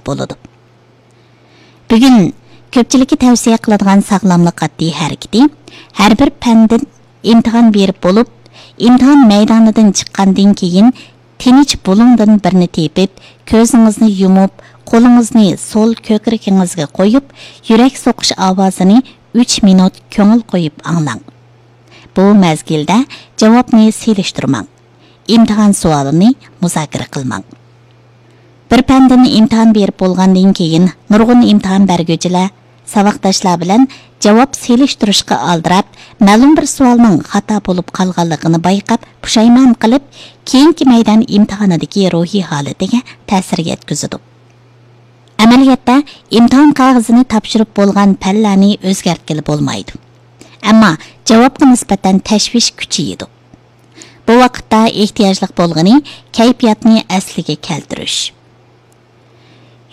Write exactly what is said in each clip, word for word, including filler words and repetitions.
بولىدۇ. بۈگۈن كۆپچىلىككە تەۋسىيە قىلىدىغان ساغلاملىق ئاددىي ھەرىكىتى، ھەر بىر پەندىن ئىمتىھان بېرىپ بولۇپ، ئىمتىھان مەيدانىدىن چىققاندىن كېيىن، تىنچ بۇلۇڭدىن بىرنى تېپىپ، كۆزىڭىزنى يۇمۇپ، قولىڭىزنى سول كۆكرىكىڭىزگە قويۇپ، يۈرەك سوقۇش ئاۋازىنى ئۈچ مىنۇت كۆڭۈل قويۇپ ئاڭلاڭ. بۇ مەزگىلدە جاۋابنى سېلىشتۇرماڭ. ئىمتىھان سوئالىنى مۇزاكىرە قىلماڭ. بىر پەندىن ئىمتىھان بېرىپ بولغاندىن كېيىن، نۇرغۇن ئىمتىھان بەرگۈچىلەر ساۋاقداشلار بىلەن جاۋاب سېلىشتۇرۇشقا ئالدىراپ، مەلۇم بىر سوئالنىڭ خاتا بولۇپ قالغانلىقىنى بايقاپ، پۇشايمان قىلىپ، كېيىنكى مەيدان ئىمتىھانىدىكى روھىي ھالىتىگە تەسىر يەتكۈزىدۇ. ئەمەلىيەتتە، ئىمتىھان قەغىزىنى تاپشۇرۇپ بولغان پەنلەرنى ئۆزگەرتكىلى بولمايدۇ. ئەمما جاۋابقا نىسبەتەن تەشۋىش كۈچىيىدۇ. بۇ ۋاقىتتا ئېھتىياجلىق بولغىنى كەيپىياتنى ئەسلىگە كەلتۈرۈش.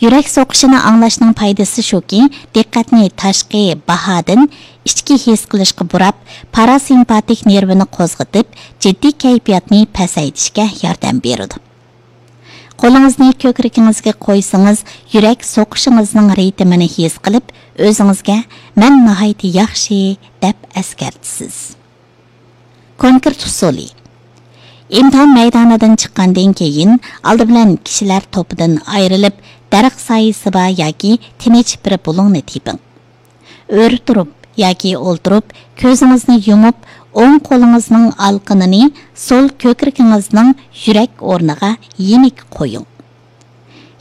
يۈرەك سوقۇشىنى ئاڭلاشنىڭ پايدىسى شۇكى، دىققەتنى تاشقى باھادىن ئىچكى ھېس قىلىشقا بۇراپ، پاراسىمپاتىك نېرۋىنى قوزغىتىپ، جىددىي كەيپىياتنى پەسەيتىشكە ياردەم بېرىدۇ. قولىڭىزنى كۆكرىكىڭىزگە قويسىڭىز، يۈرەك سوقۇشىڭىزنىڭ رىتىمىنى ھېس قىلىپ، ئۆزىڭىزگە «مەن ناھايىتى ياخشى» دەپ ئەسكەرتىسىز. كونكرېت ئۇسۇلى. ئىمتىھان مەيدانىدىن چىققاندىن كېيىن، ئالدى بىلەن كىشىلەر توپىدىن ئايرىلىپ، دەرەخ سايىسى بار ياكى تىنچ بىر بۇلۇڭنى تېپىڭ. ئۆرە تۇرۇپ ياكى ئولتۇرۇپ، كۆزىڭىزنى يۇمۇپ، ئوڭ قولىڭىزنىڭ ئالىقىنىنى سول كۆكرىكىڭىزنىڭ يۈرەك ئورنىغا يېنىك قويۇڭ.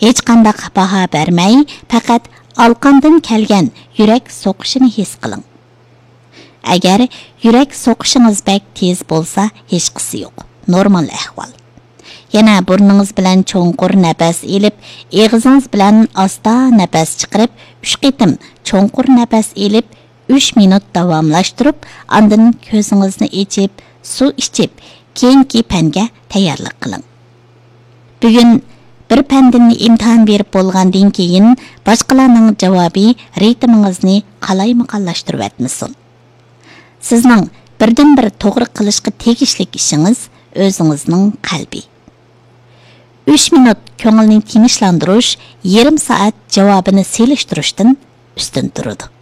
ھېچقانداق باھا بەرمەي، پەقەت ئالىقىندىن كەلگەن يۈرەك سوقۇشىنى ھېس قىلىڭ. ئەگەر يۈرەك سوقۇشىڭىز بەك تېز بولسا، ھېچقىسى يوق، نورمال ئەھۋال. يەنە بۇرنىڭىز بىلەن چوڭقۇر نەپەس ئېلىپ، ئېغىزىڭىز بىلەن ئاستا نەپەس چىقىرىپ، ئۈچ قېتىم چوڭقۇر نەپەس ئېلىپ، ئۈچ مىنۇت داۋاملاشتۇرۇپ، ئاندىن كۆزىڭىزنى ئېچىپ، سۇ ئىچىپ، كېيىنكى پەنگە تەييارلىق قىلىڭ. بۈگۈن بىر پەندىن ئىمتىھان بېرىپ بولغاندىن كېيىن، باشقىلارنىڭ جاۋابى رىتىمىڭىزنى قالايمىقانلاشتۇرۇۋەتمىسۇن. سىزنىڭ بىردىنبىر توغرا قىلىشقا تېگىشلىك ئىشىڭىز ئۆزىڭىزنىڭ قەلبى. ئۈچ مىنۇت كۆڭۈلنى تىنچلاندۇرۇش يېرىم سائەت جاۋابىنى سېلىشتۇرۇشتىن ئۈستۈن تۇرىدۇ.